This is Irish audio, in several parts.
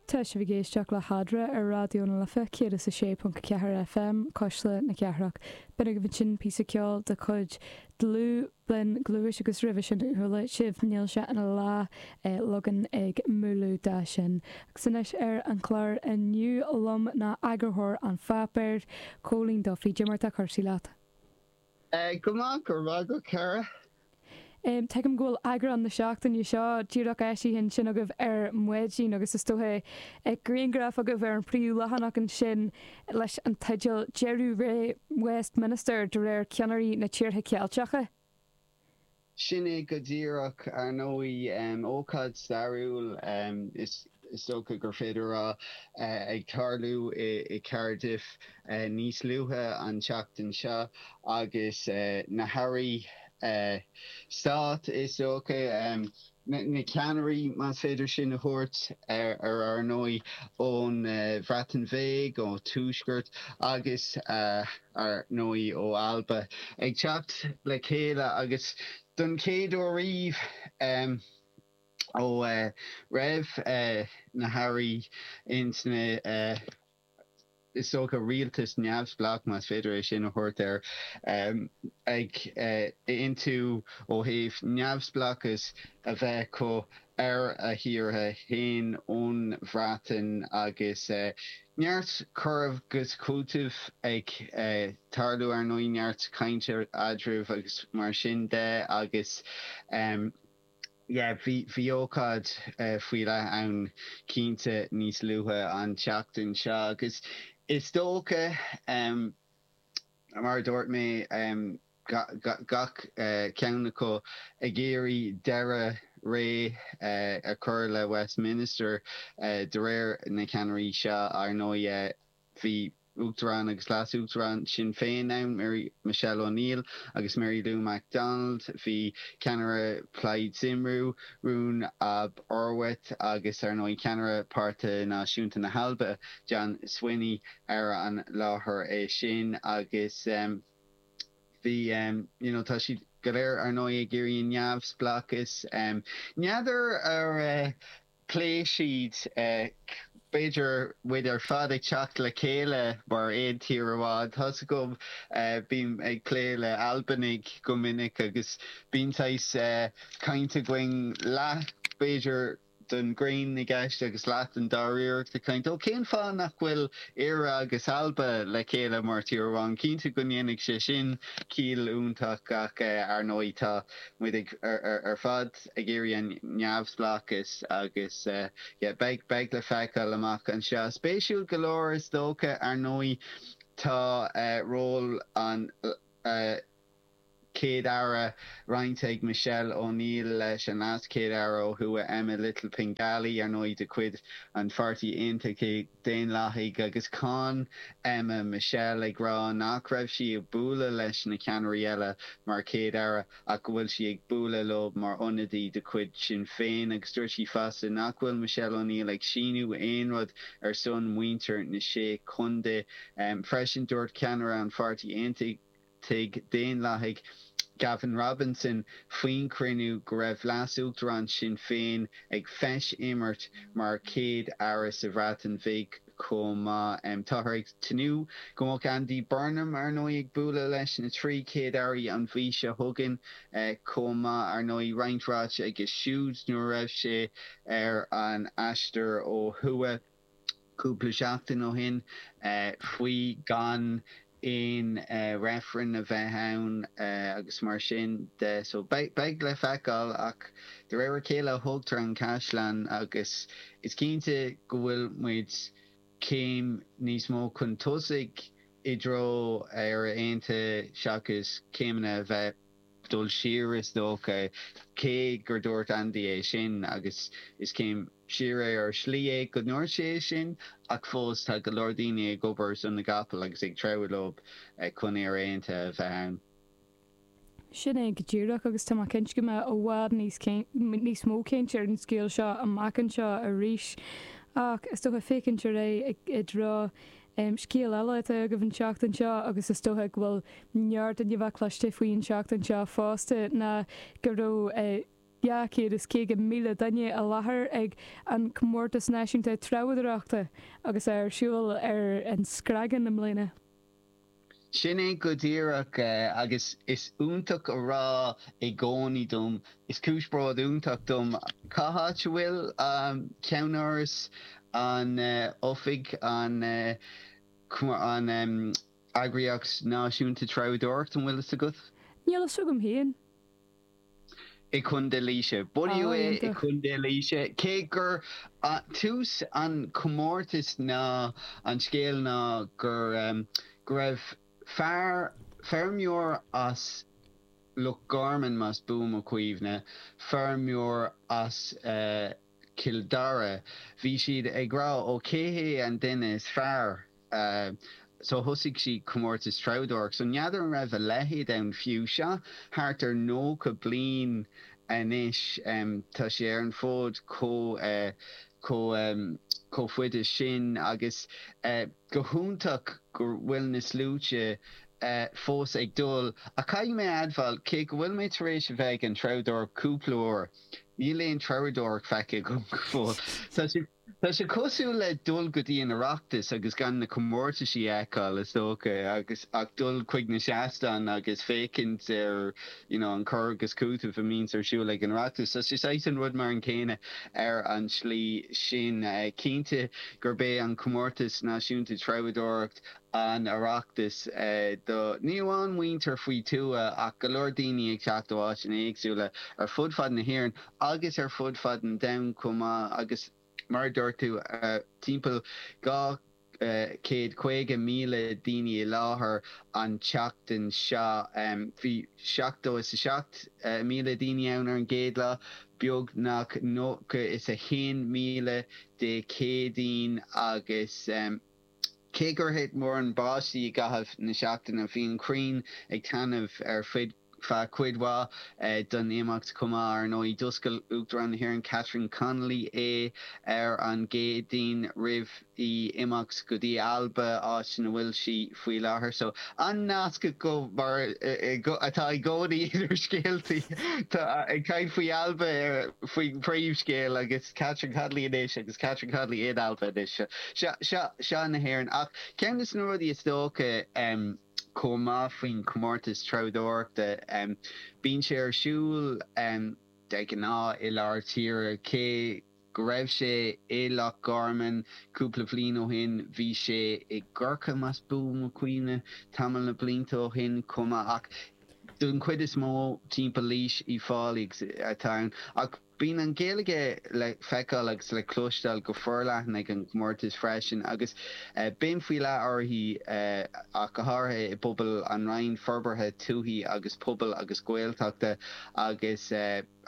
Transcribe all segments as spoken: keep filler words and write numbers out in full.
Tá sibh ag éisteacht le hEadra ar Raidió na Life céad is a sé ponc ceathair FM, Cuisle na Cathrach. B'in agaibh ansin píosa ceoil de chuid Dlúth Blinn Gluais agus roimhe sin chuala sibh Níl sé ina lá Logan ag múnlú dá sin. Agus anois ar an chlár inniu liom ná eagarthóir an pháipéir, Cóilín Duffy. Cad é mar atá cúrsaí leat? Go maith, go raibh maith agat, a chara. Tuigim go bhfuil eagrán na seachtaine seo díreach eisithe ansin agaibh ar maidin agus is dócha grianghraf agaibh ar an phríomhleathanach ansin leis an teideal 'Deireadh Ré Westminster de réir ceannairí na tíortha Ceilteacha'. Sin é go díreach, ar ndóigh, ócáid stairiúil is dócha gur féidir a rá, ag tarlú i Cardiff níos luaithe an tseachtain seo agus na hairí stáit, is dócha, na ceannairí, más féidir sin a thabhairt ar, ar ndóigh, ón Bhreatain Bheag, ó Tuaisceart agus, ar ndóigh, ó Alba, ag teacht le chéile agus don chéad uair riamh ó raibh na hairí ins na, is dócha, rialtas neamhspleách, más féidir é sin a thabhairt air, ag aontú ó thaobh neamhspleáchas a bheith acu ar a thíortha féin ón Bhreatain agus neart cur agus cúiteamh ag tarlú, ar ndóigh, neart cainte eadraibh agus mar sin de agus. Yeah, bhí, bhí ócáid faoi leith ann cinnte níos luaithe an tseachtain seo agus is dócha, mar a dúirt mé, gach ceann acu ag iarraidh deireadh ré a chur le Westminster de réir na ceannairí seo, ar ndóigh. Bhí Uachtarán agus Leas-Uachtarán Sinn Féin ann, Mary Michelle O'Neill agus Mary Lou McDonald, bhí ceannaire Plaid Cymru, Rhun ab Iorwerth agus ar ndóigh ceannaire Páirtí Náisiúnta na hAlba, John Swinney ar an láthair é sin agus bhí you know tá siad go léir ar ndóigh ag iarraidh an neamhspleáchas. N'fheadar ar phléigh siad, b'fhéidir, muid ar fad ag teacht le chéile mar aon tír amháin. Tá's agam, bím ag plé le Albanaigh go minic agus bíonn saghas caint againn leath, b'fhéidir, den ghreann i gceist agus leath den dáiríreacht ag caint, ó cén fáth nach bhfuil Éire agus Alba le chéile mar tír amháin? Cinnte go ndéanfadh sé sin ciall iontach ach ar ndóigh tá muid ag ar fad ag iarraidh an neamhspleáchas agus yeah beidh beidh le feiceáil amach anseo. Spéisiúil go leor is dócha ar ndóigh tá ról an Chéad-Aire roinnte ag Michelle O'Neill leis an LeasChéad-Aire ó thuaidh Emma Little Pengelly, ar ndóigh de chuid an Pháirtí Aontachtaigh Daonlathaigh agus cháin Emma Michelle ag rá nach raibh sí ag bualadh leis na ceannairí eile mar Chéad-Aire ach go bhfuil sí ag bualadh leo mar ionadaí de chuid Sinn Féin agus dúirt sí fosta nach bhfuil Michelle O'Neill ag síniú aon rud ar son muintir na Sé Chontae. Freisin dúirt ceannaire an Pháirtí Aontachtaigh Daonlathaigh, Gavin Robinson, faoin chruinniú go raibh Leas-Uachtarán Sinn Féin ag feis-imirt mar Chéad-Aire sa Bhreatain Bhig chomh maith. Táthar ag tnúth go mbeadh Andy Burnham, ar ndóigh, ag bualadh leis na trí Chéad-Airí an mhí seo chugainn chomh maith. Ar ndóigh, roinnt ráite aige siúd nuair a raibh sé ar an aistear ó thuaidh cúpla seachtain ó shin faoi gan aon reifreann a bheith ann agus mar sin de. So beidh le feiceáil ach de réir a chéile a thógtar an caisleán agus is cinnte go bhfuil muid céim níos mó chun tosaigh i dtreo Éire Aontaithe seachas céimeanna a bheith dul siar is dócha, cé gur dúirt Andy é sin agus is céim siar é ar shlí é go ndúirt sé é sin ach fós tá go leor daoine ag obair ar son na gcapall agus ag treabhadh leo chun Éire Aontaithe a bheith ann. Sin é go díreach agus tá mé cinnte go mbeidh i bhfad níos níos mó cainte ar an scéal seo amach anseo arís ach is dócha féachaint ar aghaidh i dtreo Scéal eile atá agaibh an tseachtain seo, agus is dócha go bhfuil neart inniu bheith cloiste faoi an tseachtain seo fosta, ná go raibh dhá chéad is caoga míle duine i láthair ag an Comórtas Náisiúnta Treabhdóireachta agus é ar siúl ar an Screagán i mbliana. Sin é go díreach agus is iontach a rá i gcónaí dom, is cúis bród iontach dom cá háit a bhfuil ceannáras an oifig an an eagraíocht náisiúnta treabhdóireachta, an bhfuil fhios agat? Níl fhios agam féin. I Contae Laoise. Bunaíodh é i Contae Laoise. Cé gur tús an comórtas ná an scéal ná gur go raibh fear, feirmeoir as Loch Garman más buan mo chuimhne, feirmeoir as Cill Dara, bhí siad ag rá ó cé hé an duine is fearr? So thosaigh siad comórtas treabhdóireacht. So n'fheadar an raibh a leithéid ann fiú. Seo thart ar nócha bliain anois. Tá sé ar an bhfód chomh chomh chomh fada sin agus go hiontach go bhfuil na sluaite fós ag dul. Ach caithfidh mé a admháil, cé go bhfuil mé tar éis a bheith ag an treabhdóireacht cúpla uair, níl aon treabhdóireacht feicthe agam go fóill. Tá sé tá sé cosúil le dul go dtí an Oireachtas agus gan na comórtaisí a fheiceáil, is dócha, agus ach dul chuig na seastáin agus féachaint ar you know an cur agus cúiteamh a mbíonns ar siúl ag an Oireachtas. Tá sé saghas an rud mar an céanna ar an tslí sin. Cinnte gurb é an comórtas náisiúnta treabhdóireacht an Oireachtas do ní amháin muintir faoi tuath ach go leor daoine ag teacht ó áiteanna éagsúla ar fud fad na hÉireann agus ar fud fad an domhain chomh maith agus mar a dúirt tú timpeall dhá chéad caoga míle daoine i láthair an tseachtain seo. Bhí seachtó is a seacht míle daoine ann ar an gcéad lá, beagnach nócha is a haon míle Dé Céadaoin agus cé gur thit mórán báistí i gcaitheamh na seachtaine, bhí an ghrian ag taitneamh ar feadh cuid mhaith den imeacht chomh maith. Ar ndóigh, d'oscail Uachtarán na hÉireann Catherine Connolly é ar an gCéadaoin roimh í imeacht go dtí Alba, áit ina bhfuil sí faoi láthair. So, an nasc go mar atá i gcónaí idir scéaltaí. Tá ag caint faoi Alba ar faoin príomhscéal agus Catherine Connolly anois agus Catherine Connolly in Alba anois. Seo seo seo na hÉireann. Ach ceann de na rudaí is dócha chomh maith faoin chomórtas treabhdóireachta, bíonn sé ar siúl de ghnáth i lár tíre, cé go raibh sé i Loch Garman cúpla bliain ó shin, bhí sé i gCorcaigh, más buan mo chuimhne, tamall na blianta ó shin chomh maith, ach don chuid is mó timpeall Laois, Uíbh Fhailí atá ann. Ach bíonn an Ghaeilge le feiceáil agus le cloisteáil go forleathan ag an gcomórtas freisin agus béim faoi leith uirthi ach go háirithe i bpobal an Roinn Forbartha Tuaithe agus Pobail agus Gaeltachta agus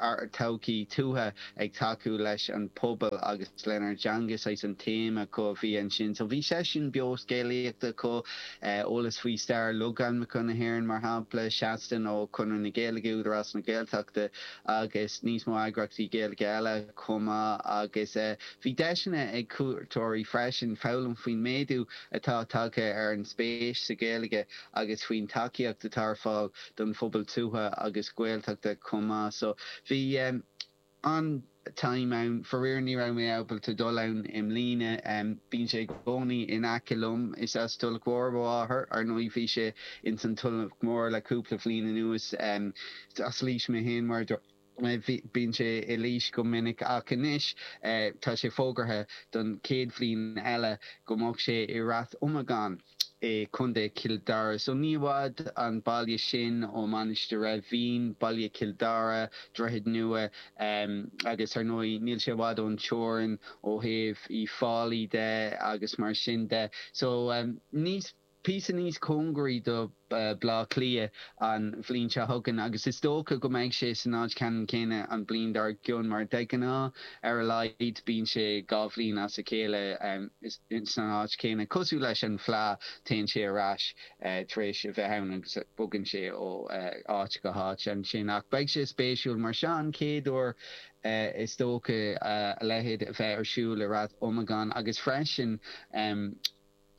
ár dtodhchaí tuaithe ag tacú leis an bpobal agus lenár dteanga, saghas an téama acu a bhí ansin. So bhí seisiún beo scéalaíochta acu, eolas faoi stair logainmneacha na hÉireann, mar shampla, seastán ó Chonradh na Gaeilge, Údarás na Gaeltachta agus níos mó eagraíochtaí Gaeilge eile chomh maith agus bhí deiseanna ag cuairteoirí freisin foghlaim faoin méadú atá tagtha ar an spéis sa Ghaeilge agus faoin tacaíocht atá ar fáil don phobal tuaithe agus Gaeltachta chomh maith. So bhí an-time ann. Faraor ní raibh mé ábalta dul ann i mbliana. Bíonn sé i gcónaí in aice liom. Is as Tulach Mhór mo mháthair. Ar ndóigh bhí sé ins an Tulach Mhór le cúpla bliain anuas. As Laois mé féin mar a dúirt mé. Bíonn sé i Laois go minic ach anois tá sé fógartha don chéad bhliain eile go mbeadh sé i Rath Iomagáin i Contae Chill Dara. So ní i bhfad an baile sin ó Mainistir Eimhín, baile Chill Dara, Droichead Nua agus ar ndóigh níl sé i bhfad ón teorainn ó thaobh Uíbh Fhailí de agus mar sin de. So níos píosa níos cóngaraí do Bleá Cliath an bhliain seo chugainn agus is dócha go mbeidh sé san áit ceannann céanna an bhliain dár gcionn mar de ghnáth ar a laghad bíonn sé dhá bhliain as a chéile san áit chéanna. Cosúil leis an bhFleadh téann sé ar ais tar éis a bheith ann agus bogann sé ó áit go háit ansin ach beidh sé spéisiúil mar seo an chéad uair is dócha a leithéid a bheith ar siúl i Rath Iomagáin agus freisin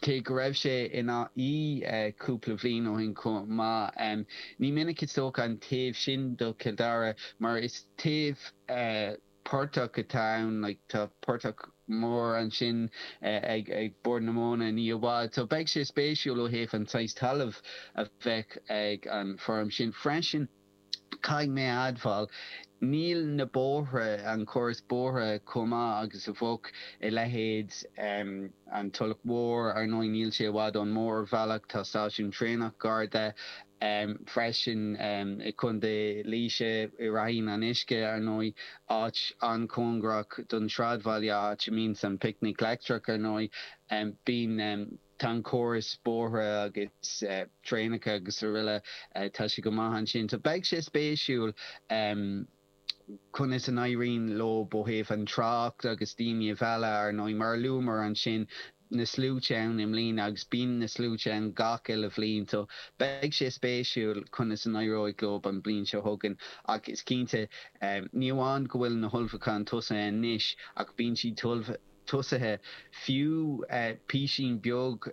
Cé go raibh sé in Áth Í cúpla bhliain ó shin chomh maith, ní minic is dócha an taobh sin do Chill Dara mar is taobh portach atá ann, like tá portach mór ansin ag ag Bord na Móna ní i bhfad. So beidh sé spéisiúil ó thaobh an saghas talaimh a bheadh ag an foirm sin freisin. Caithfidh mé a admháil, níl na bóithre, an córas bóithre chomh maith agus a bheadh i leithéid an Tulach Mhór. Ar ndóigh níl sé i bhfad ón mórbhealach, tá stáisiún traenach gar de freisin i gContae Laoise, i Ráithín an Uisce, ar ndóigh, áit an-chóngarach don sráidbhaile, áit a mbíonns an Picnic Leictreach, ar ndóigh. Bíonn. Tá an córas bóithre agus traenacha agus araile, tá sé go maith ansin. So beidh sé spéisiúil conas a n-éiríonn leo ó thaobh an trácht agus daoine a mhealladh, ar ndóigh, mar a luamar ansin, na sluaite ann i mbliana agus bíonn na sluaite ann gach uile bhliain. So beidh sé spéisiúil conas a n-éireoidh leo an bhliain seo chugainn ach is cinnte, ní amháin go bhfuil na hullmhúcháin tosaithe anois ach bíonn siad tosaithe fiú písín beag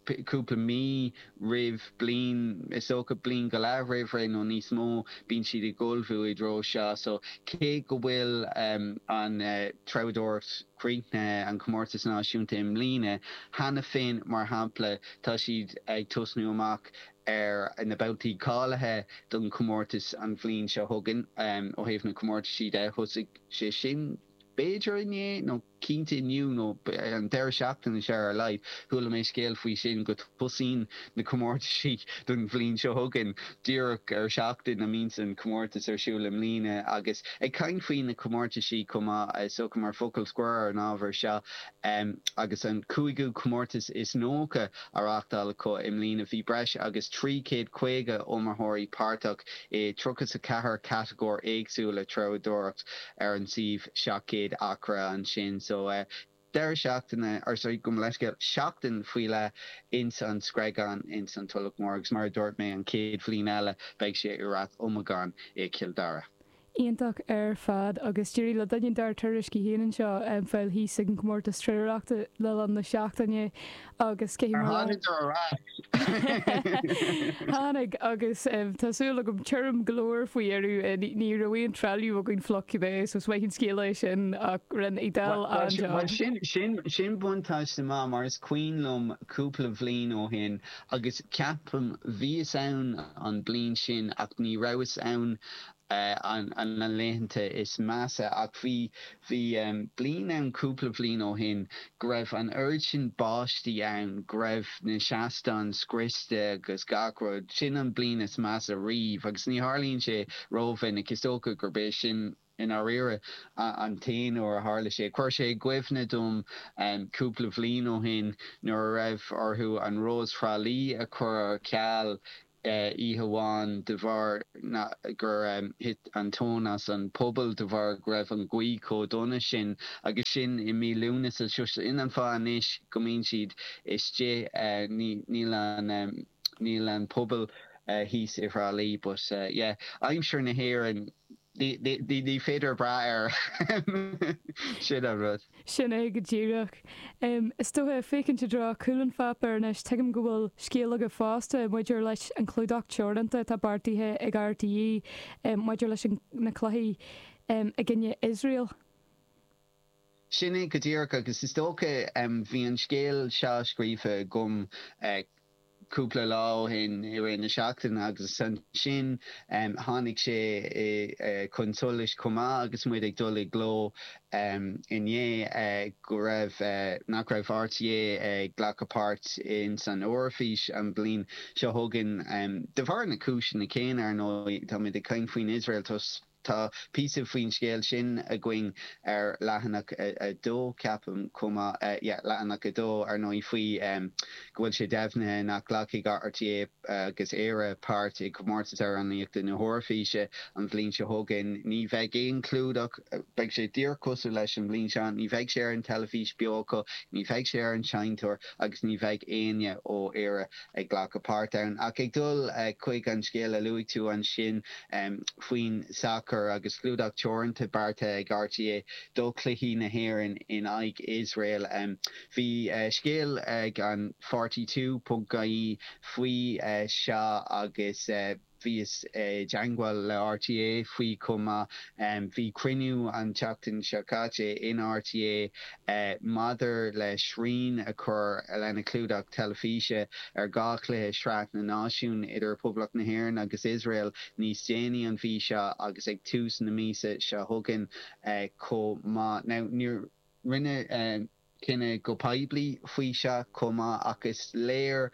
cúpla mí roimh bliain, is dócha bliain go leath roimh ré nó níos mó, bíonn siad ag ullmhú i dtreo seo. So cé go bhfuil an treabhdóireacht críochnaithe, an comórtas náisiúnta i mbliana, cheana féin, mar shampla, tá siad ag tosnú amach ar na babhtaí cáilithe don chomórtas an bhliain seo chugainn. Ó thaobh na comórtaisí de, thosaigh sé sin b'fhéidir inné, nó cinnte inniu, nó an deireadh seachtaine seo ar a laghad, chuala mé scéal faoi sin, go dtosaíonn na comórtaisí don bhliain seo chugainn díreach ar seachtain a mbíonns an comórtas ar siúl i mbliana. Agus ag caint faoi na comórtaisí chomh maith, is dócha mar focal scoir ar an ábhar seo, agus an cúigiú comórtas is nócha á reáchtáil acu i mbliana, bhí breis agus trí chéad caoga iomaitheoirí páirteach i tríocha is a ceathair catagóir éagsúla treabhdóireacht ar an suíomh seacht gcéad acra ansin. So deireadh seachtaine, or sorry, gabh mo leithscéal, seachtain faoi leith ins an Screagán ins an Tulach Mhór agus mar a dúirt mé an chéad bhliain eile beidh sé i Rath Iomagáin i gCill Dara. Iontach ar fad agus d'éirigh le duine dár tuairiscí féin anseo fáil thíos ag an gcomórtas treabhdóireachta le linn na seachtaine agus cé Ar tháinig ar ais? Tháinig agus tá súil agam tirim go leor faoi dheireadh. Ní raibh aon trealamh againn fliuch cibé so is maith an scéal é sin ach rinne Edel an-jab. Bhuel sin, sin, sin buntáiste maith mar is cuimhin liom cúpla bhliain ó shin agus ceapaim bhíos ann an bliain sin ach ní rabhas ann an na laethanta is measa ach bhí bhí bliain ann cúpla bhliain ó shin go raibh an oiread sin báistí ann go raibh na seastáin scriosta agus gach rud. Sin an bliain is measa riamh agus ní tharlaíonn sé rómhinic. Is dócha gurb é sin i ndáiríre an t-aon uair a tharla sé. Chuir sé i gcuimhne dom cúpla bhliain ó shin nuair a raibh orthu an Rós Thrá Lí a chur ar ceal oíche amháin de bharr gur thit an tóin as an puball de bharr go raibh an ghaoth chomh dona sin agus sin i mí Lúnasa. So sin an fáth anois go mbíonn siad istigh. Níl an níl an puball thíos i dTrá Lí but yeah aimsir na hÉireann ní féidir brath air. Sin an rud. Sin é go díreach. Is dócha, féachaint i dtreo chúl an pháipéir anois, tuigim go bhfuil scéal agaibh fosta maidir leis an chlúdach teoranta atá beartaithe ag RTÉ maidir leis na cluichí i gcoinne Iosrael. Sin é go díreach agus is dócha bhí an scéal seo scríofa agam cúpla lá ó shin i rith na seachtaine agus ansin tháinig sé chun solais chomh maith agus muid ag dul i gcló inné go raibh nach raibh RTÉ ag glacadh páirt ins an Eoraifís an bhliain seo chugainn de bharr na cúiseanna céanna ar ndóigh táimid ag caint faoin Iosrael Tá píosa faoin scéal sin againn ar leathanach a dó, ceapaim, chomh maith. Yeah, leathanach a dó, ar ndóigh, faoi go bhfuil sé deimhnithe nach nglacfaidh RTÉ agus Éire páirt i gcomórtas amhránaíochta na hEoraifíse an bhliain seo chugainn. Ní bheidh aon chlúdach, beidh sé díreach cosúil leis an bhliain seo, ní bheidh sé ar an teilifís beo acu, ní bheidh sé ar an seinnteoir agus ní bheidh éinne ó Éire ag glacadh páirt ann. Ach ag dul chuig an scéal a luaigh tú ansin faoin sacar, sacair agus clúdach teoranta beartaithe ag R T É do chluichí na hÉireann in aghaidh Iosrael. Bhí scéal ag an forty two ponc ie faoi seo agus bhíos i dteagmháil le R T É faoi chomh maith. Bhí cruinniú an tseachtain seo caite in R T É maidir le srian a chur lena clúdach teilifíse ar dhá chluiche Sraith na Náisiún idir Poblacht na hÉireann agus Iosrael níos déanaí an mhí seo agus ag tús na míosa seo chugainn chomh maith. Now níor rinneadh cinneadh go poiblí faoi seo chomh maith ach is léir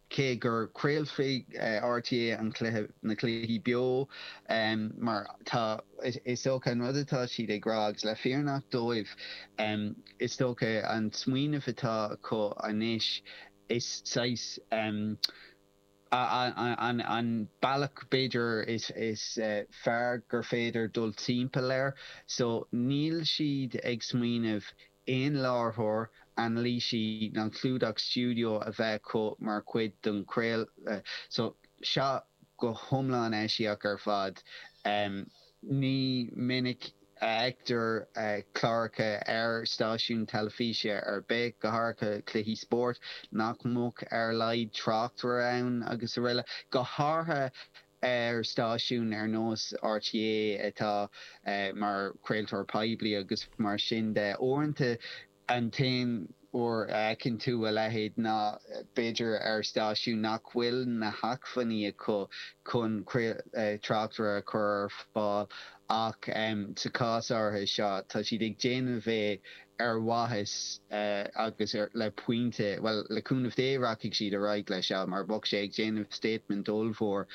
cé gur craolfaidh R T É an cluiche na cluichí beo mar tá is dócha an rud atá siad ag rá agus le fírinne dóibh is dócha an smaoineamh atá acu anois is saghas an an bealach b'fhéidir is is fearr gur féidir dul timpeall air so níl siad ag smaoineamh aon láithreoir anailísí ná clúdach stiúideo a bheith acu mar chuid den chraoladh so seo go hiomlán eisiach ar fad. Ní minic a fheictear cláracha ar stáisiún teilifíse ar bith, go háirithe cluichí spóirt, nach mbeadh ar a laghad tráchtaire ann agus araile, go háirithe ar stáisiún ar nós R T É atá mar chraoltóir poiblí agus mar sin de. Uaireanta an t-aon uair a fheiceann tú a leithéid ná b'fhéidir ar stáisiún nach bhfuil na hacmhainní acu chun tráchtaire a chur ar fáil ach sa chás áirithe seo tá siad ag déanamh é ar mhaitheas agus le pointe, bhuel le cúnamh Dé rachaidh siad ar aghaidh leis seo mar bheadh sé ag déanamh statement ollmhór.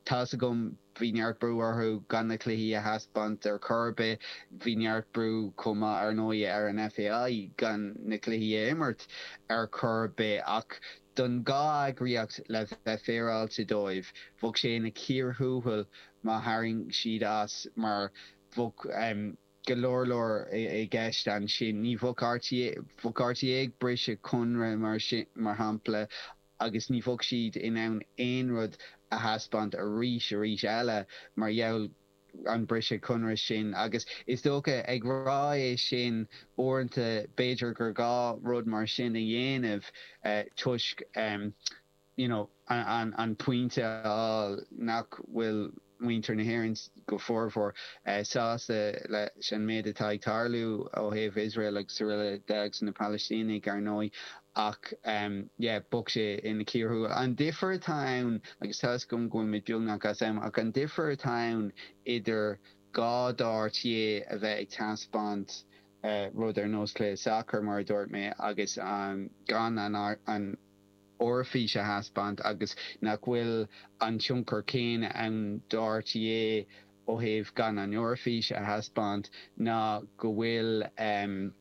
Tá's agam bhí neart brú orthu gan na cluichí a thaispeáint ar chor ar bith, bhí neart brú chomh maith ar ndóigh ar an F A I gan na cluichí a imirt ar chor ar bith ach don dhá eagraíocht le bheith féaráilte dóibh bheadh sé ina chíor thuathail má tharraing siad as mar bheadh go leor leor i gceist ansin. Ní bheadh R T É bheadh R T É ag briseadh conradh mar sin mar shampla agus ní bheadh siad in ann aon rud a thaispeáint arís arís eile mar gheall an briseadh conradh sin agus is dócha ag rá é sin uaireanta b'fhéidir gur gá rud mar sin a dhéanamh toisc you know an an pointe a fháil nach bhfuil muintir na hÉireann go formhór sásta leis an méid atá ag tarlú ó thaobh Iosrael agus araile de agus na Palaistínigh ar ndóigh ach yeah bheadh sé ina chíor thuathail. An difear atá ann agus tá agam go bhfuil beagnach as am ach an difear atá ann idir gá do R T É a bheith ag taispeáint rud ar nós cluiche sacair mar a dúirt mé agus um, gan an, an Eoraifís a thaispeáint agus nach bhfuil an tionchar céanna ann do R T É ó thaobh gan an Eoraifís a thaispeáint ná go bhfuil um,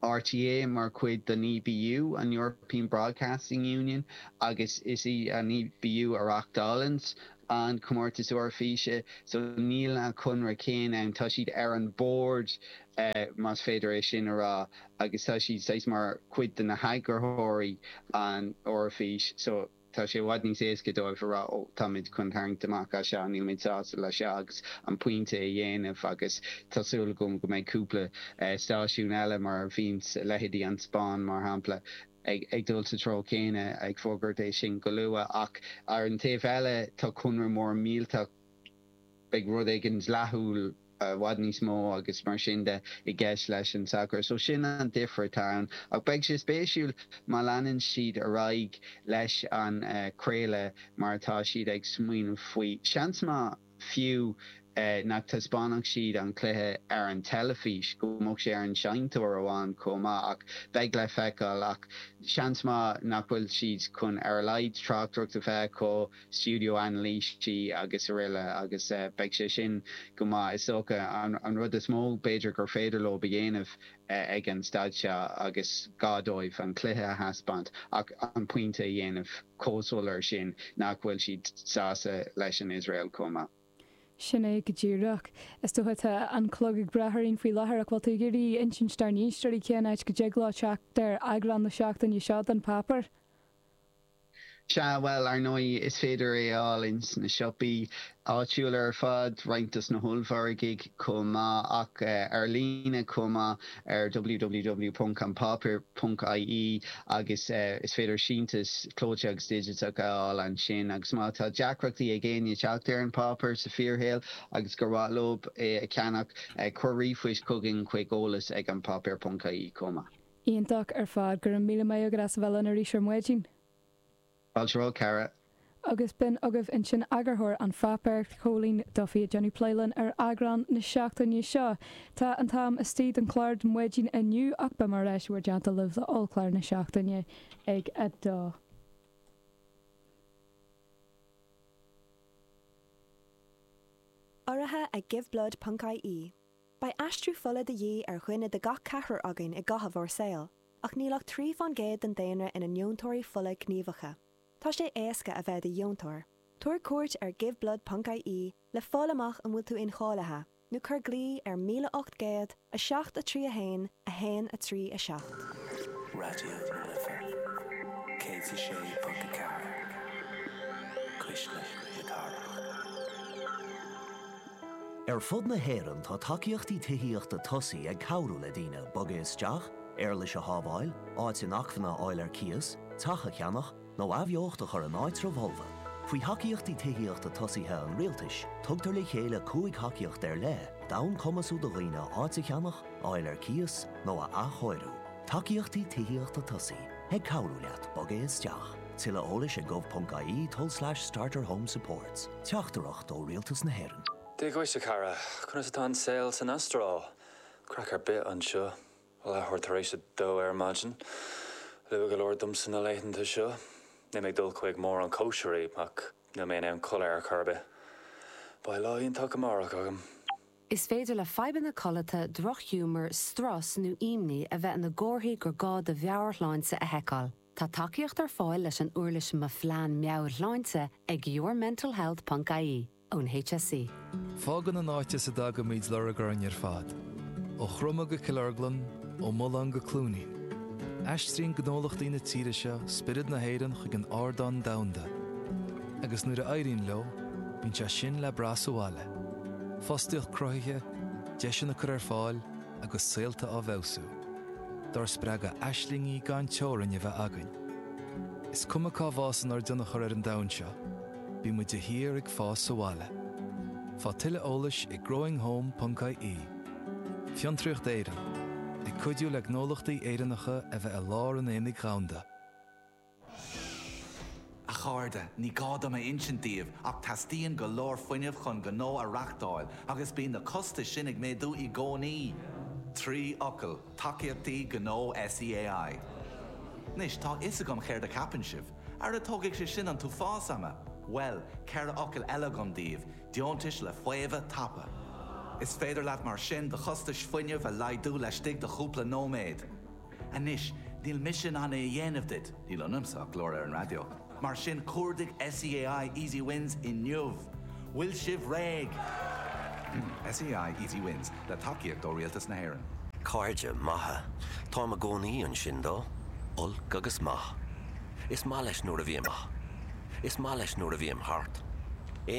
R T É mar chuid den E B U, an European Broadcasting Union, agus is í an E B U a reáchtálann an comórtas Eoraifíse, so níl an conradh céanna ann tá siad ar an bord uh, más féidir é sin a rá agus tá siad saghas mar chuid de na heagarthóirí an Eoraifís so tá sé i bhfad níos éasca dóibh a rá ó táimid chun tarraingt amach as seo nílimid sásta le seo agus an pointe a dhéanamh agus tá súil agam go mbeidh cúpla uh, stáisiún eile mar bhíonn leithéidí an Spáinn mar shampla ag, ag dul sa treo céanna ag fógairt é sin go luath ach ar an taobh eile tá conradh mór millteach beidh rud éigin dleathúil i bhfad níos mó agus mar sin de i gceist leis an soccer. So sin an difear atá ann ach beidh sé spéisiúil má leanann siad ar aghaidh leis an uh, craoladh mar atá siad ag smaoineamh faoi. Seans maith fiú uh, nach dtaispeánfadh siad an cluiche ar an teilifís go mbeadh sé ar an seinnteoir amháin chomh maith ach beidh le feiceáil ach seans maith nach bhfuil siad chun ar a laghad tráchtaireacht a bheith acu studio anailísí agus araile agus uh, beidh sé sin go maith is dócha an, an rud is mó b'fhéidir gur féidir leo a dhéanamh uh, ag an staid seo agus gá dóibh an cluiche a thaispeáint ach an pointe a dhéanamh chomh soiléir sin nach bhfuil siad sásta leis an Israel chomh maith. Sin é go díreach. Is dócha tá an clog ag breith orainn faoi láthair ach bhfuil tú ag iarraidh insint dár n-éisteoirí cén áit go dtig leo teacht ar eagrán na seachtaine seo den páipéar. Sea, bhuel, ar ndóigh, is féidir é a fháil ins na siopaí áitiúla ar fad, roinnt dos na hollmhargaidh chomh maith, ach ar líne chomh maith ar www ponc anpáipéar ponc ie agus is féidir síntiús clóite agus digiteach a fháil ansin. Agus má tá deacrachtaí ag éinne teacht ar an bpáipéar sa fíorshaol agus gur mhaith leo é a cheannach, cuir ríomhphoist chugainn chuig eolas ag anpáipéar ponc ie chomh maith. Iontach ar fad. Go raibh míle maith agat as a bheith linn arís ar maidin. Fáilte romhat, a chara. Agus b'in agaibh ansin eagarthóir an pháipéir, Cóilín Duffy ag déanamh plé linn ar eagrán na seachtaine seo. Tá an t-am istigh don chlár don mhaidin inniu ach beidh mé ar ais i bhur dteannta libh le ollchlár na seachtaine ag a dó. Urraithe ag Giveblood ponc ie. Beidh aistriú fola de dhíth ar dhuine de gach ceathrar againn i gcaitheamh ár saoil, ach níl ach trí fán gcéad den daonra ina ndeontóirí fola gníomhacha. Tá sé éasca a bheith i do dheontóir. Tabhair cuairt ar giveblood ponc ie le fáil amach an bhfuil tú incháilithe, nó cuir glao ar míle ocht gcéad, a seacht a trí a haon, a haon a trí a seacht. Raidió na Life céad is a sé ponc a ceathair, Cuisle na Cathrach. Ar fud na hÉireann tá tacaíochtaí tithíochta tosaigh ag cabhrú le daoine bogadh isteach, éarlais a shábháil, áit inacmhainne a fháil ar cíos, teach a cheannach, nó athbheocht a chur in áitribh fholmha. Faoi Thacaíochtaí Tithíochta Tosaithe an Rialtais, tugtar le chéile cúig thacaíocht ar leith d'fhonn cumasú do dhaoine áit a cheannach, a fháil ar cíos, nó a athchóiriú. Tacaíochtaí Tithíochta Tosaigh, ag cabhrú leat bogadh isteach. Tuilleadh eolais ag gov.ie tulslais starterhomesupports. Teachtaireacht ó Rialtas na hÉireann. Dia dhuit, a chara. Conas atá an saol san Astráil? Craic ar bith anseo. Leathuair tar éis a dó ar maidin. Luath go leor domsa na laethanta seo. Níl mé ag dul chuig mórán cóisirí ach níl mé in ann codladh ar chor ar bith. Beidh lá iontach amárach agam. Is féidir le fadhbanna codlata, drochghiúmar, strus nó imní a bheith ina gcomharthaí gur gá do mheabhairshláinte a sheiceáil. Tá tacaíocht ar fáil leis an uirlis Mo Phlean Meabhairshláinte ag yourmentalhealth ponc ie. ón HSE. Fágann an áit as a dtagaimid lorg orainn ar fad. Ó Chroma go Cill Orglan, ó Mullán go Cluainín. Aistríonn gnólachtaí na tíre seo spiorad na hÉireann chuig an ardán domhanda. Agus nuair a éiríonn leo, bíonn sé sin le brath sa bhaile. Fostaíocht cruthaithe, deiseanna curtha ar fáil agus saolta á bhfeabhsú. Dár spreagadh aislingí gan teorainn a bheith againn. Is cuma cá bhfásann ár dtionchar ar an domhan seo, bíonn muid de shíor ag fás sa bhaile. Faigh tuilleadh eolais ag growinghome ponc ie. Fiontraíocht Éireann, ag cuidiú le gnólachtaí Éireannacha a bheith i lár an aonaigh dhomhanda. A chairde, ní gá dom a insint daoibh ach teastaíonn go leor fuinnimh chun gnó a reáchtáil agus bíonn na costais sin ag méadú i gcónaí. Trí fhocal, Tacaíochtaí Gnó SEAI. Anois, tá a fhios agam céard a cheapann sibh. Ara tógfaidh sé sin an t-uafás ama! Bhuel, ceithre fhocal eile agam daoibh, deontais le faomhadh tapa. Is féidir leat mar sin do chostais fuinnimh a laghdú laistigh de chúpla nóiméad. Anois, níl mise in ann é a dhéanamh duit, níl ionamsa ach glór ar an raidió, mar sin cuardaigh SEAI Easy Wins inniu! Bhfuil sibh réidh? SEAI Easy Wins, le tacaíocht ó Rialtas na hÉireann. Cairde maithe. Táim i gcónaí ansin dó, olc agus maith. Is maith leis nuair a bhím. Is maith leis nuair a bhím thart.